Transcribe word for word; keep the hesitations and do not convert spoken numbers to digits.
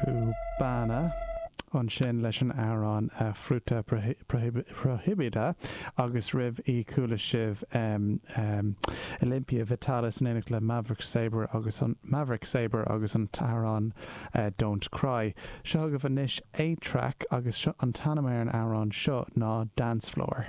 Cubana ansin leis an amhrán uh, Fruta Prohibida agus roimh í chuala sibh um, um, Olympia Vitalis in éineacht le Maverick Sabre agus an Maverick Sabre agus an t-amhrán uh, Don't Cry. Seo agaibh anois A-Trak agus seo an t-ainm ar an amhrán seo ná Dance Floor.